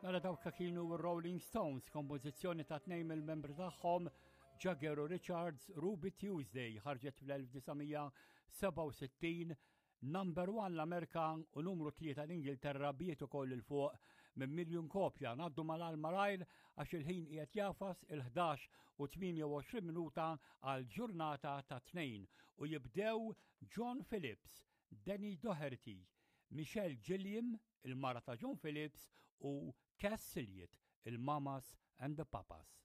Mela dawk kienu Rolling Stones, kompożizzjoni ta' tnejn mill-membri tagħhom Jagger u Richards, Ruby Tuesday ħarġet fl-1967 Number 1 l-Amerika u numru 3 l-Ingilterra biet ukoll il fuq minn miljun kopja. Ngħaddu mal malajr għax il-ħin qiegħed jafas il-11 u 28 minuta għal ġurnata ta' tnejn u jibdew John Phillips, Danny Doherty, Michelle Gilliam, il-mara ta' John Phillips u Cass Silliet, il-Mamas and the Papas.